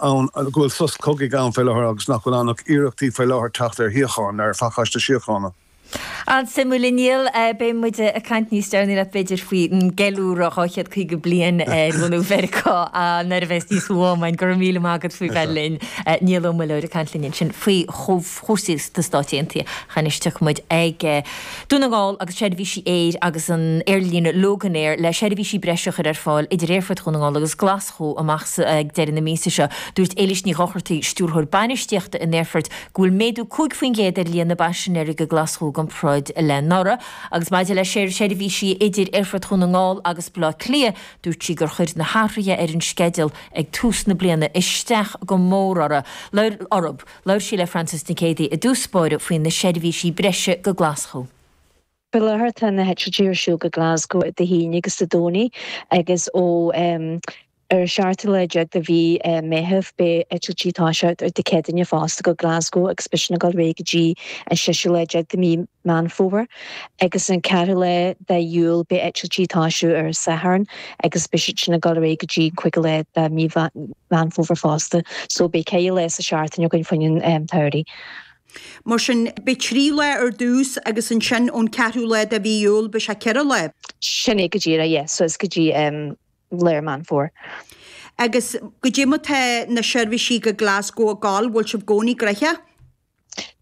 Ann, go bhfuil sos cogaidh ann faoi láthair agus nach bhfuil ann ach iarrachtaí faoi láthair teacht ar shíocháin, ar phacáiste síochána. An-suimiúil, a Niall. Beidh muid ag caint níos deireanaí leat b'fhéidir faoin gceiliúradh 250 bliain ar bhunú Mheiriceá nuair a bheas níos mó am againn. Go raibh míle maith agat faoi bheith linn. Niall Ó Muilleoir ag caint linn ansin faoi chúrsaí sna Stáit Aontaithe. Anois tiocfaidh muid ag Dún na nGall agus seirbhísí aeir agus an aerlíne Loganair le seirbhísí breise a chur ar fáil idir Aerfort Dhún na nGall agus Glaschú amach ag deireadh na míosa seo. Dúirt Éilís Ní Dhochartaigh, Stiúrthóir Bainistíochta an Aerfoirt, go bhfuil méadú 5% ar líon na bpaisinéirí go Glaschú i gcomparáid le anuraidh. Agus maidir le seirbhísí idir Aerfort Dhún na nGall agus Baile Átha Cliath, dúirt sí gur chuir na hathruithe ar an sceideal ag tús na bliana isteach go mór orthu. Labhair sí le Frances Nic Géadaigh i dtús báire faoi na seirbhísí breise go Glaschú. Faoi láthair tá na heitiltí ar siúl go Glasgow Dé hAoine agus Dé Domhnaigh agus ó ar an seachtú lá déag de mhí Meitheamh beidh eitiltí ag toiseacht ar Dé Céadaoine fosta go Glasgow agus beidh sin ag dul ar aghaidh go dtí an seisiú lá déag de mhí Meán Fómhair agus an ceathrú lá de Iúil beidh eitiltí ag toisiú ar an Satharn agus beidh siad sin ag dul ar aghaidh go dtí an cúigiú lá de mhí Meán Fómhair fosta. So beidh ceithre lá sa seachtain againn fá choinne an tsamhraidh. Mar sin, beidh 3 lá ar dtús agus ansin ón ceathrú lá de mhí Iúil beidh sé 4 lá. Sin é go díreach, yeah. So is go dtí lár Meán Fómhair. Agus goidé mar tá na seirbhísí go Glasgow ag gabháil, bhfuil sibh i gcónaí gnoitheach?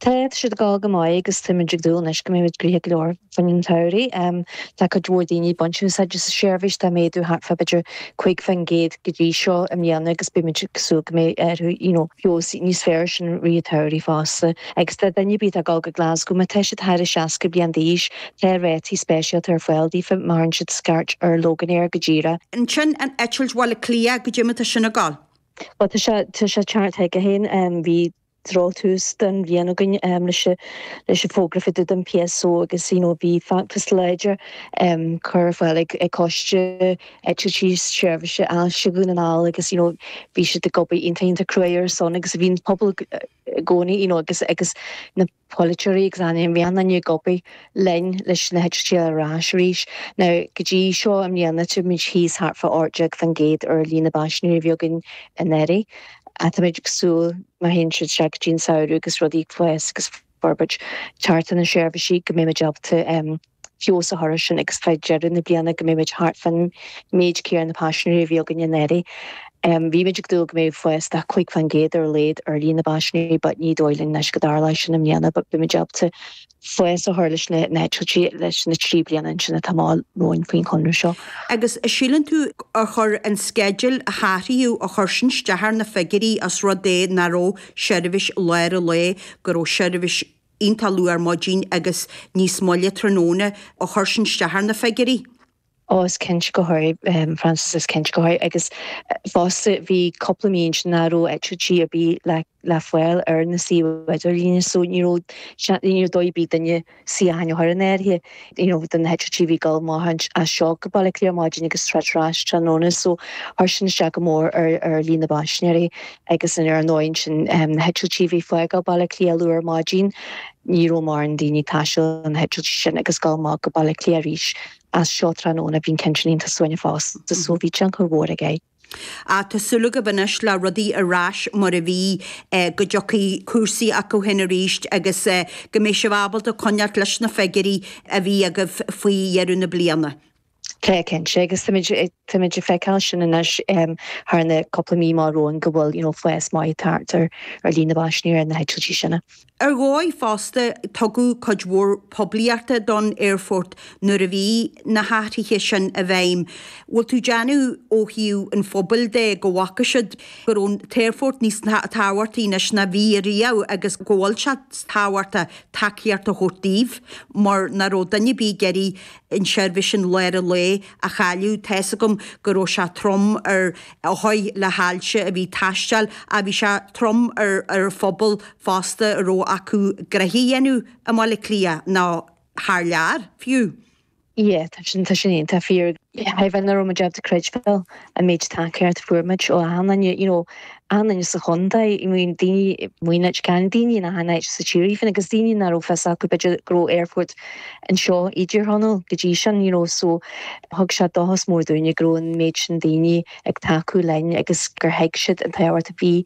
Tá, tá siad ag gabháil go maith agus táimid ag dúil anois go mbeimid gnoitheach go leor fá choinne an tsamhraidh. Tá cuid mhór daoine ag baint úsáid as an seirbhís, tá méadú thart fá b'fhéidir 5% go dtí seo i mbliana agus beimid ag súil go mbeidh orthu you know feabhas níos fearr sin i rith an tsamhraidh fosta. Agus do dhuine ar bith atá ag dul go Glasgow, má tá siad thar a 60 bliain d'aois, tá rátaí speisialta ar fáil daofa má chuireann siad scairt ar Loganair go díreach. Ansin an eitilt Bhaile Átha Cliath, goidé mar tá sin ag gabháil? Bhuel tá sé tá sé ag teacht chuige féin, bhí drochtús don bhliain againn leis leis an bhfógra fá dtaobh den PSO agus you know bhí feachtas láidir curtha ar fáil ag ag coiste eitiltí seirbhíse Ailse Dhún na nGall agus you know bhí siad ag obair iontach iontach cruaidh ar a son agus bhí an pobal i gcónaí you know agus agus na polaiteoirí agus an bhí an-duine ag obair linn leis na heitiltí ar ais arís. Now go dtí seo i mbliana táimid thíos thart fá 18% ar líon na bpaisinéirí a bhí againn anuraidh. Táimid ag súil má théann siad isteach go dtí an samhradh agus rudaí ag fás agus forbairt thart ar na seirbhísí go mbeimid ábalta feabhas a chur air sin agus fá dheireadh na bliana go mbeimid thart fán méid céanna paisinéirí a bhí againn anuraidh. Bhí muid ag dúil go mbeadh fás de 5% ar a laghad ar líon na bpaisinéirí but ní dóigh linn anois go dtarlóidh sin i mbliana but beimid ábalta fás a chur leis na heitiltí leis na 3 bliana ansin atá amach romhainn faoin chonradh seo. Agus síleann tú ar chuir an sceideal a hathraíodh, ar chuir sin isteach ar na figiúirí os rud é nach raibh seirbhís lár an lae, go raibh seirbhís iontach luath ar maidin agus níos moille tráthnóna, ar chuir sin isteach ar na figiúirí? Ó, is cinnte gur chuir, Frances, is cinnte gur chuir. Agus fosta bhí cúpla mí ansin nach raibh eitiltí ar bith le le fáil ar na suíomh idirlíne so ní raibh ní raibh dóigh ar bith duine suíochán a chur in áirithe you know do na heitiltí a bhí ag dul amach as seo go Baile Átha Cliath ar maidin agus tar ais tráthnóna so chuir sin isteach go mór ar ar líon na bpaisinéirí agus ar ndóigh ansin na heitiltí a bhí ag fágáil Baile Átha Cliath luath ar maidin ní raibh mórán daoine ag taisteal ar na heitiltí sin agus dul amach go Baile Átha Cliath arís as seo tráthnóna bhí an ceann sin iontach suaimhneach fosta so bhí tionchar mhór aige. Ach tá súil agaibh anois le rudaí ar ais mar a bhí, go dtiocfaidh cúrsaí acu féin arís agus go mbeidh sibh ábalta coinneáilt leis na figiúirí a bhí agaibh faoi dheireadh na bliana. Tá, cinnte, agus táimid, táimid ag feiceáil sin anois thar na cúpla mí amach romhainn go bhfuil, you know, fás maith ag teacht ar, ar líon na bpaisinéirí ar na heitiltí sin. Ar dhóigh fosta, tugadh cuid mhór poiblíochta don aerfort nuair a bhí na hathruithe sin i bhfeidhm. Bhfuil tú ag déanamh ó thaobh an phobail de go bhfaca siad go raibh an t-aerfort níos tábhachtaí anois ná bhí riamh agus go bhfuil sé tábhachtach tacaíocht a thabhairt daoibh mar nach raibh duine ar bith ag iarraidh an tseirbhís sin lár an lae a chailleadh. Tá's agam go raibh sé trom ar othair le hailse a bhí ag taisteal ach bhí sé trom ar ar an phobal fosta a raibh acu gnoithe a dhéanamh i mBaile Átha Cliath nó thar lear fiú. Yeah, tá sin, tá sin iontach fíor. B'fhéidir nach raibh muid ábalta creidbheáil an méid tacaíocht a fuair muid ó achan duine, you know, achan duine sa chontae, I mean daoine amuigh in Leitir Ceanainn, daoine in achan áit sa tír even agus daoine nach raibh fios acu b'fhéidir go raibh aerfort anseo i dTír Chonaill go dtí sin, you know, so thug sé dóchas mór dúinne go raibh an méid sin daoine ag tacú linn agus gur thuig siad an tábhacht a bhí.